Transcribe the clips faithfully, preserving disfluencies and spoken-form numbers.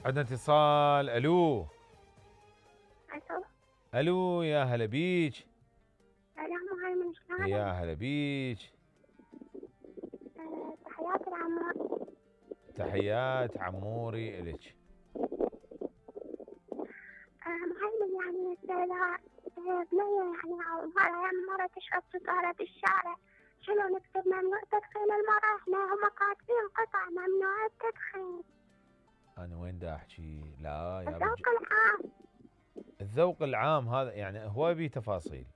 عندنا اتصال. الو الو الو يا هلا بيج. سلام مهيمن، شلونك؟ يا هلا بيج. أه تحياتي لعمار. تحيات عموري الك. أه مهيمن، يعني إذا بنية يعني أو مرة يعني مرة تشرب سيجارة بالشارع، شنو نكتب؟ ممنوع تدخين المرأة؟ احنا هم كاتبين قطع ممنوع التدخين. انا وين دا احكي؟ لا يا الذوق بج... العام. الذوق العام هذا يعني هو بيه تفاصيل.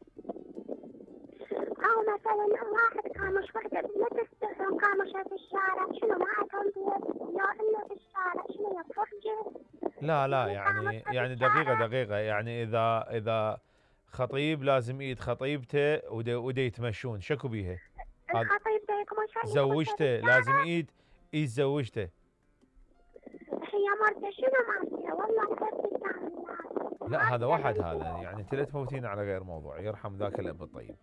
أو مثلا واحد كامش وحدة لا تستحون كامشة بالشارع، شنو ما عندهم بيت لا إلا بالشارع، شنو يفرجي؟ لا لا يعني يعني كامشة يعني دقيقة بالشارع. دقيقة يعني اذا اذا خطيب لازم ايد خطيبته ودا ودا يتمشون شكو بيها؟ هذا الخطيب ده يكمش يتمشى زوجته لازم بالشارع. ايد ايد زوجته. هي مرته شنو ماسكة؟ والله كيف تعمل لا هذا هذا واحد، اللي هذا يعني انت لا تفوتين على غير موضوع، يرحم ذاك الاب الطيب.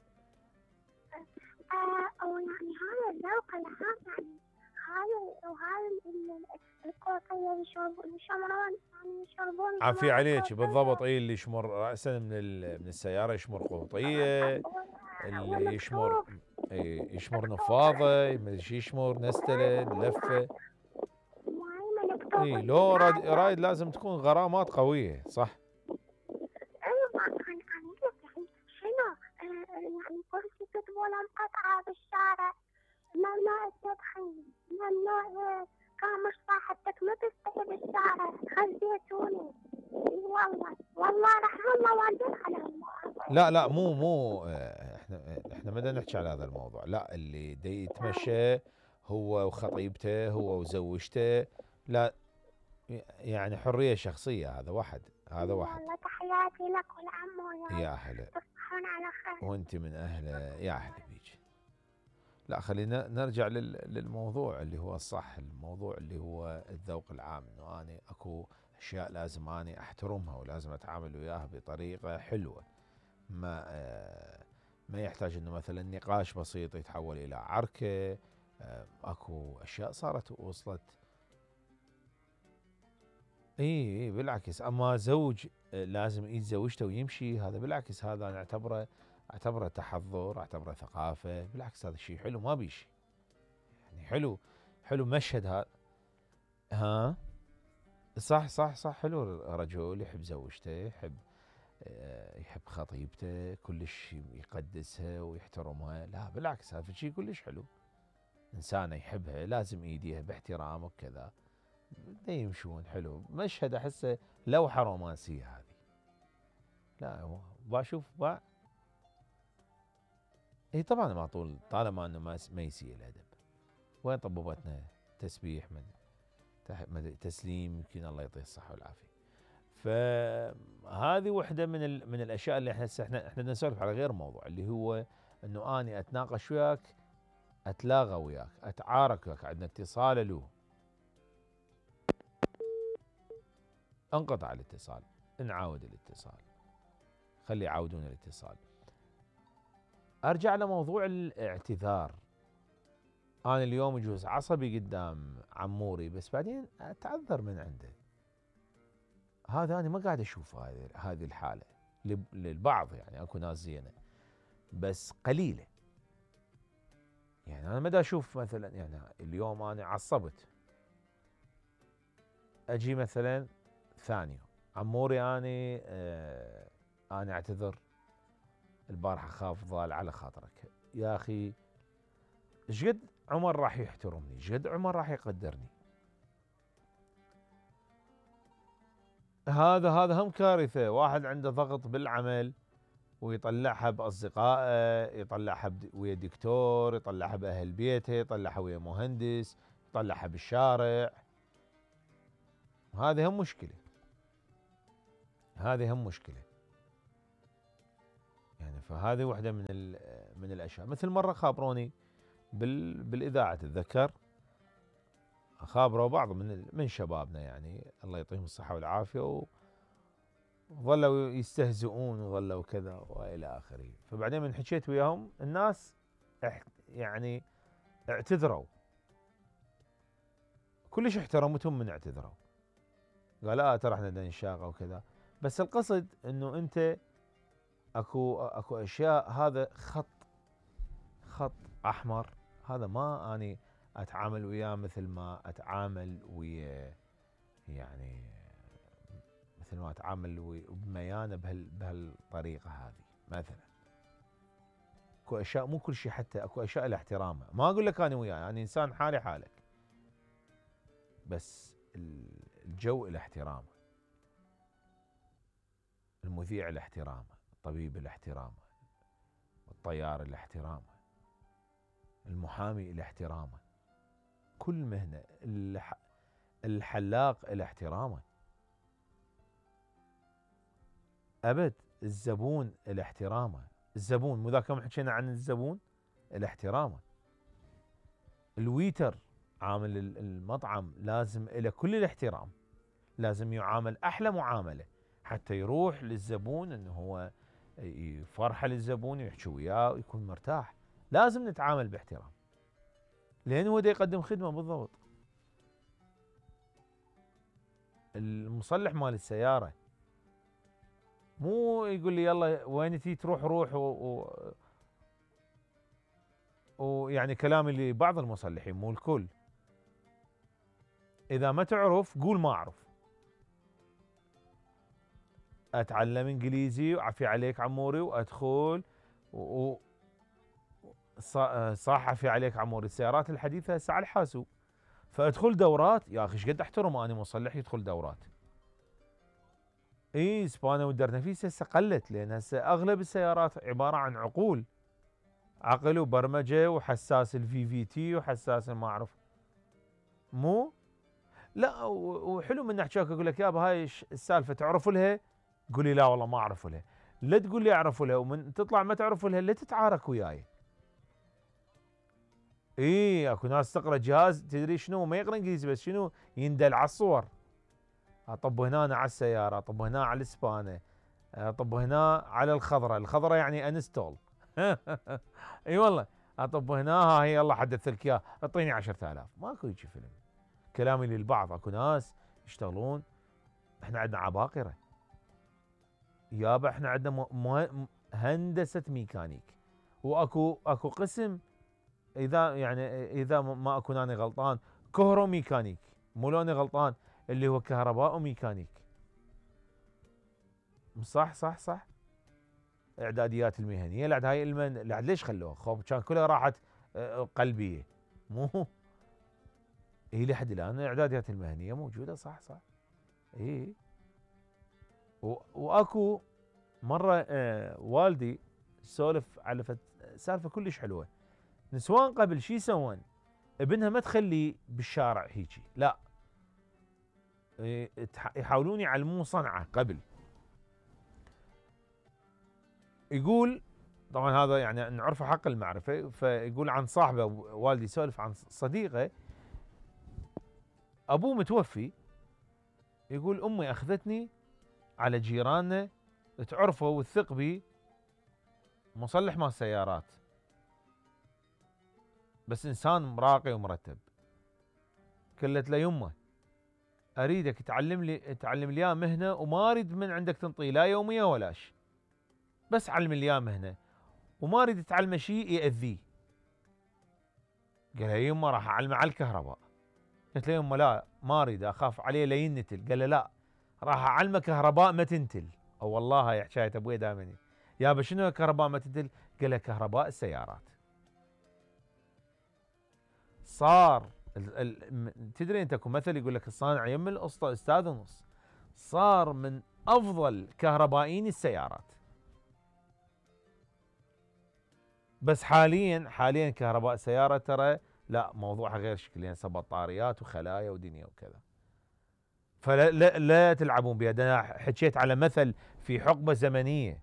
آه أو يعني هذا الذوق العام، يعني هاي وهاي الكوفية يشربون يشمرون يعني يشربون عافية جماعة عليك بالضبط. كوفية. اي اللي يشمر راسا من من السياره يشمر قوطيه، اللي يشمر والمكتوب إي يشمر مكتوب نفاضه، ما ادري شي يشمر نستله لفه. معين مكتوب اي لو راد هذا. رايد لازم تكون غرامات قويه صح. أيوة أنا أنا يعني شنو آه يعني كرسي كتبوا لهم قطعة بالشارع ممنوع التدخين، ممنوع كامش صاحبتك ما تستحي بالشارع، خزيتوني. والله والله رحم الله والدين عليهم. لا لا مو مو آه، احنا احنا ما بدنا نحكي على هذا الموضوع. لا اللي دي يتمشى هو وخطيبته هو وزوجته، لا يعني حريه شخصيه. هذا واحد، هذا واحد. والله تحياتي لك والعمو، يا يا هلا. تصبحون على خير. وانت من اهله. يا هلا بيك. لا خلينا نرجع للموضوع اللي هو الصح، الموضوع اللي هو الذوق العام، انه اني اكو اشياء لازم اني احترمها ولازم اتعامل وياها بطريقه حلوه، ما آه ما يحتاج انه مثلا نقاش بسيط يتحول الى عركه. آه اكو اشياء صارت وصلت. اي اي بالعكس، اما زوج آه لازم يتزوجته ويمشي، هذا بالعكس هذا انا اعتبره اعتبره تحضر، اعتبره ثقافه. بالعكس هذا الشيء حلو ما بيشي، يعني حلو حلو مشهد هذا. ها صح صح صح. حلو رجل يحب زوجته، يحب يحب خطيبته، كلش يقدسها ويحترمها. لا بالعكس هذا شيء كلش حلو. إنسانة يحبها لازم يديها باحترام وكذا، يمشون حلو. مشهد أحسه لوحة رومانسية هذه. لا بشوف با اي طبعا ما طول طالما انه ما ما يسيء الادب. وين طبوبتنا تسبيح من تسليم، يمكن الله يعطيه الصحة والعافية. فهذه وحده من ال... من الاشياء اللي احنا احنا احنا نسولف على غير موضوع، اللي هو انه اني اتناقش وياك، اتلاغى وياك، اتعارك وياك. عندنا اتصال. له انقطع الاتصال، نعاود الاتصال، خلي يعاودون الاتصال. ارجع لموضوع الاعتذار. انا اليوم يجوز عصبي قدام عموري، بس بعدين اتعذر من عنده. هذا انا ما قاعد اشوف هذه هذه الحاله للبعض، يعني اكو ناس زينه بس قليله. يعني انا ما دا اشوف مثلا يعني اليوم انا عصبت، اجي مثلا ثاني عموري اني آه انا اعتذر البارحه خاف ضال على خاطرك يا اخي. ايش قد عمر راح يحترمني، ايش قد عمر راح يقدرني. هذا هذا هم كارثه. واحد عنده ضغط بالعمل ويطلعها باصدقائه، يطلعها ويا دكتور، يطلعها باهل بيته، يطلعها ويا مهندس، يطلعها بالشارع. هذه هم مشكله، هذه هم مشكله. يعني فهذه واحده من من الاشياء. مثل مره خابروني بال بالاذاعه، تتذكر خابروا بعض من من شبابنا يعني الله يعطيهم الصحه والعافيه، وظلوا يستهزئون وظلوا كذا والى اخره. فبعدين من حكيت وياهم الناس يعني اعتذروا، كلش احترمتهم من اعتذروا. قال لا ترى احنا بدنا نشاغه وكذا. بس القصد انه انت اكو اكو اشياء هذا خط خط احمر، هذا ما اني اتعامل وياه مثل ما اتعامل ويا يعني مثل ما اتعامل بميانه بهال بهالطريقه هذه. مثلا اكو اشياء مو كل شيء، حتى اكو اشياء لها احترامها، ما اقول لك انا وياه، يعني انسان حالي حالك، بس الجو له احترامه، المذيع له احترامه، الطبيب له احترامه، الطيار له احترامه، المحامي له احترامه، كل مهنه، الحلاق له احترامه، ابد الزبون له احترامه، الزبون مو ذاك يوم حكينا عن الزبون له احترامه، الويتر عامل المطعم لازم له كل الاحترام، لازم يعامل احلى معامله حتى يروح للزبون انه هو يفرحه للزبون ويحكي وياه ويكون مرتاح. لازم نتعامل باحترام لان هو دا يقدم خدمه بالضبط. المصلح مال السياره مو يقول لي يلا وين تي تروح روح و... و... ويعني كلامي لبعض المصلحين مو الكل، اذا ما تعرف قول ما اعرف، اتعلم انجليزي وعفي عليك عموري وادخل و... صح عفي عليك عموري. السيارات الحديثه هسه على الحاسوب، فادخل دورات يا اخي. ايش قد احترم انا مصلح يدخل دورات. اي سبانه والدرنفيس هسه قلت، لان هسه اغلب السيارات عباره عن عقول، عقل وبرمجه وحساس الفي في تي وحساس ما اعرف مو لا. وحلو من احكيك اقول لك يابا هاي السالفه تعرف لها، قول لي لا والله ما اعرف لها، لا تقول لي اعرف لها ومن تطلع ما تعرف لها لا تتعارك وياي. اي اكو ناس تقرا جهاز تدري شنو، ما يقرا انجليزي بس شنو يندل على الصور، اطب هنا على السياره، اطب هنا على الاسبانه، اطب هنا على الخضره، الخضره يعني انستول اي والله اطب هنا ها هي يلا حدث لك اياه اعطيني عشرة آلاف. ماكو هيجي فيلم. كلامي للبعض، اكو ناس يشتغلون، احنا عندنا عباقره يابا، احنا عندنا م... هندسه ميكانيك، واكو اكو قسم اذا يعني اذا ما اكون انا غلطان كهرو ميكانيك، مو لوني غلطان اللي هو كهرباء وميكانيك. صح صح صح. اعداديات المهنيه لعد هاي المن لعد ليش خلوها؟ خوف كان كلها راحت قلبيه مو هي لحد الان الاعداديات المهنيه موجوده. صح صح اي. واكو مره آه والدي سولف على سالفه كلش حلوه. نسوان قبل شي يسوون؟ ابنها ما تخليه بالشارع هيجي، لا يحاولون يعلموه صنعه قبل. يقول طبعا هذا يعني نعرفه حق المعرفه، فيقول عن صاحبه والدي يسولف عن صديقه ابوه متوفي، يقول امي اخذتني على جيراننا تعرفه وتثق بي، مصلح مال سيارات بس انسان مراقي ومرتب. قالت له يمه اريدك تعلم لي تعلم لي مهنه وما اريد من عندك تنطي لا يوميه ولاش، بس علم لي مهنه وما اريد تعلمه شيء ياذيه. قال لها يمه راح اعلمه على الكهرباء. قلت له يمه لا ما اريد اخاف عليه لا ينتل. قال له لا راح اعلمه كهرباء ما تنتل. او والله هاي حكايه ابوي دائما يابا شنو كهرباء ما تنتل؟ قال له كهرباء السيارات. صار ال ال تدري انت اكو مثل يقول لك الصانع يم الاسطى استاذ ونص، صار من افضل كهربائيين السيارات. بس حاليا حاليا كهرباء سياره ترى لا موضوعها غير شكل، يعني بطاريات وخلايا ودنيا وكذا. فلا لا, لا تلعبون بها. انا حكيت على مثل في حقبه زمنيه،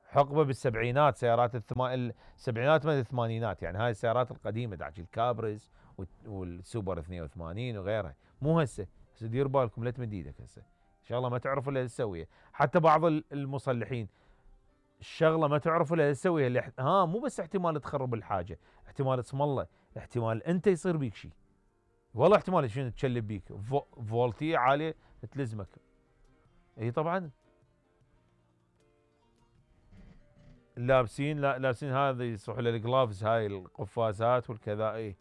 حقبه بالسبعينات، سيارات الثما... السبعينات من الثمانينات، يعني هاي السيارات القديمه داعش الكابرز والسوبر اثنين وثمانين وغيرها، مو هسه. هسه دير بالكم لا تمد ايدك هسه، ان شاء الله ما تعرفوا الا تسويها. حتى بعض المصلحين الشغله ما تعرفوا الا تسويها، اللي ها مو بس احتمال تخرب الحاجه، احتمال اسم الله، احتمال انت يصير بيك شيء، والله احتمال شنو تشلب بيك فو... فولتيه عاليه تلزمك. اي طبعا لابسين، لا لابسين هذه يصح للجلافز، هاي القفازات والكذا. اي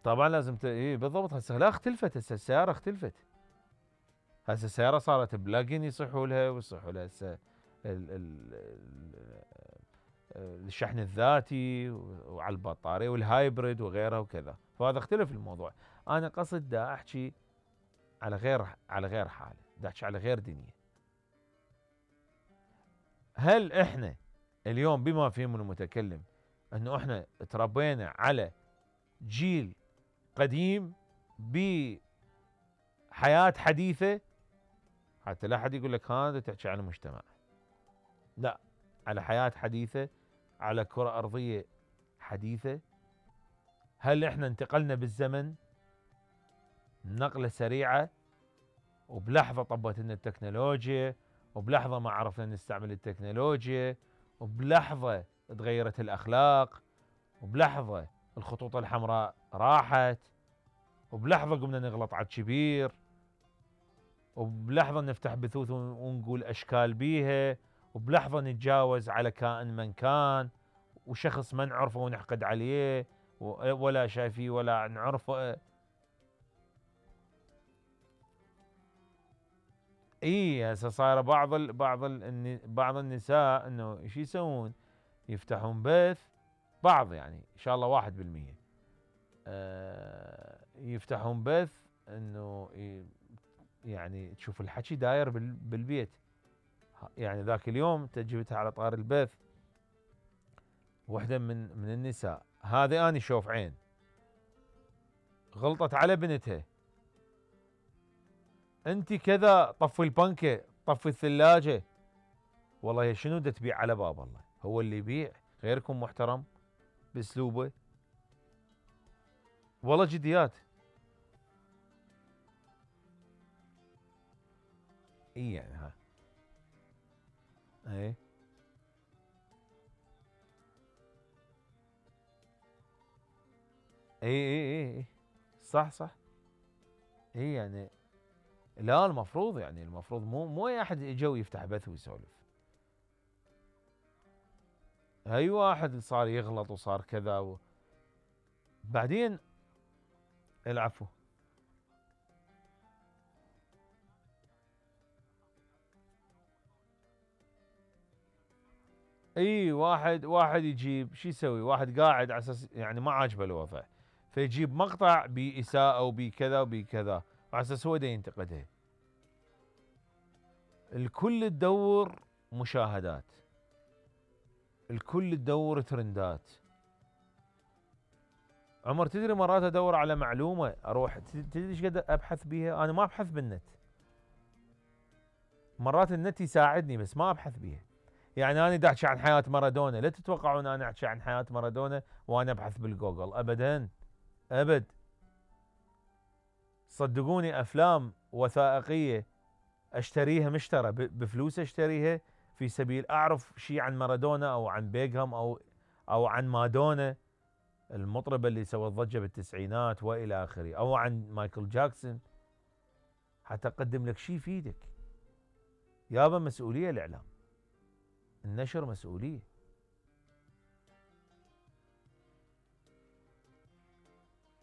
طبعا لازم ت... اي بالضبط. هسه لا اختلفت، هسه السياره اختلفت، هسه السياره صارت بلاجن يصحوا لها، ويصحوا لها هسه ال... ال... ال... الشحن الذاتي وعلى البطاريه والهايبريد وغيرها وكذا. فهذا اختلف الموضوع. انا قصد دا احكي على غير على غير حاله، دا احكي على غير دنيا. هل احنا اليوم بما فيهم المتكلم انه احنا تربينا على جيل قديم بحياة حديثة؟ حتى لا احد يقول لك هذا تحكي عن مجتمع، لا، على حياة حديثة، على كرة أرضية حديثة. هل احنا انتقلنا بالزمن نقلة سريعة وبلحظة طبت لنا التكنولوجيا، وبلحظة ما عرفنا نستعمل التكنولوجيا، وبلحظة تغيرت الأخلاق، وبلحظة الخطوط الحمراء راحت، وبلحظة قمنا نغلط على الكبير، وبلحظة نفتح بثوث ونقول أشكال بيها، وبلحظة نتجاوز على كائن من كان، وشخص ما نعرفه ونحقد عليه ولا شايفيه ولا نعرفه. اي هسه صايره بعض ال بعض ال بعض النساء انه ايش يسوون؟ يفتحون بث، بعض يعني ان شاء الله واحد بالمية آه يفتحون بث انه يعني تشوف الحكي داير بالبيت. يعني ذاك اليوم تجيبتها على طار البث وحده من من النساء، هذه اني شوف عين، غلطت على بنتها، انت كذا، طفي البنكه، طفي الثلاجه. والله يا شنو دا تبيع على باب الله؟ هو اللي يبيع غيركم محترم باسلوبه. والله جديات. اي يعني ها اي اي اي اي صح صح. اي يعني لا، المفروض يعني المفروض مو مو اي احد يجي يفتح بث ويسولف. اي واحد صار يغلط وصار كذا و... بعدين العفو. اي واحد واحد يجيب شو يسوي؟ واحد قاعد على اساس يعني ما عاجبه الوضع، فيجيب مقطع بإساءة وبكذا وبكذا على اساس هو دا ينتقدها. الكل تدور مشاهدات، الكل تدور ترندات. عمر تدري مرات ادور على معلومه اروح، تدري ايش قد ابحث بيها؟ انا ما ابحث بالنت، مرات النت يساعدني بس ما ابحث بيها. يعني انا دا احكي عن حياه مارادونا، لا تتوقعون انا احكي عن حياه مارادونا وانا ابحث بالجوجل، ابدا ابد. صدقوني افلام وثائقيه اشتريها مشترى بفلوس، اشتريها في سبيل اعرف شيء عن مارادونا او عن بيغهام او او عن مادونا المطربه اللي سوت ضجه بالتسعينات والى اخره، او عن مايكل جاكسون، حتى اقدم لك شيء يفيدك. يابا مسؤوليه الاعلام، النشر مسؤوليه.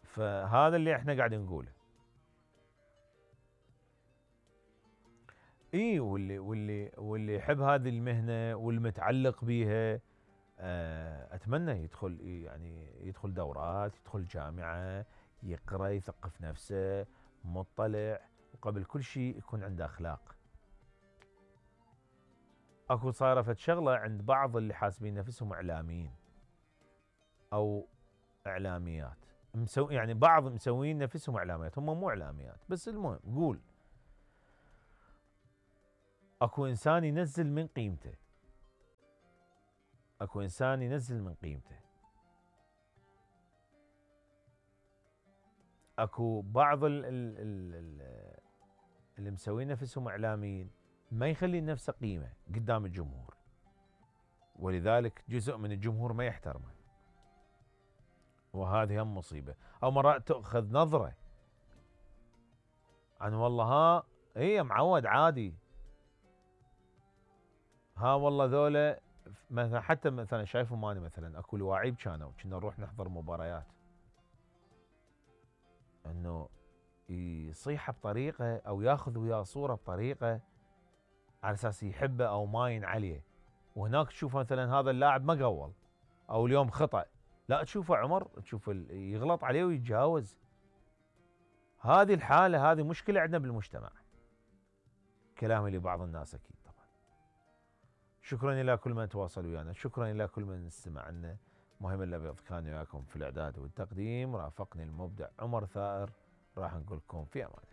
فهذا اللي احنا قاعدين نقوله. اي واللي واللي واللي يحب هذه المهنه والمتعلق بيها اتمنى يدخل، يعني يدخل دورات، يدخل جامعه، يقرا، يثقف نفسه، مطلع، وقبل كل شيء يكون عنده اخلاق. اكو صايره فد شغله عند بعض اللي حاسبين نفسهم اعلاميين او اعلاميات، مسو يعني بعض مسوين نفسهم اعلاميات، هم مو اعلاميات. بس المهم قول اكو انسان ينزل من قيمته، اكو انسان ينزل من قيمته. اكو بعض ال ال ال اللي مسوين نفسهم اعلاميين ما يخلي نفسه قيمه قدام الجمهور، ولذلك جزء من الجمهور ما يحترمه، وهذه هم مصيبه. او مرات تاخذ نظره عن والله ها هي معود عادي، ها والله ذولا مثلا حتى مثلا شايفهم اني مثلا اكو لواعيب كانوا كنا نروح نحضر مباريات، انه يصيح بطريقه او ياخذ وياه صوره بطريقه على اساس يحبه او ماين عليه، وهناك تشوف مثلا هذا اللاعب ما قول او اليوم خطأ، لا تشوفه عمر تشوف يغلط عليه ويتجاوز. هذه الحاله هذه مشكله عندنا بالمجتمع. كلامي لبعض الناس اكيد طبعا. شكرا الى كل من تواصل ويانا، شكرا الى كل من استمع لنا. مهم الابيض كان وياكم في الاعداد والتقديم، رافقني المبدع عمر ثائر. راح نقول لكم في امان الله.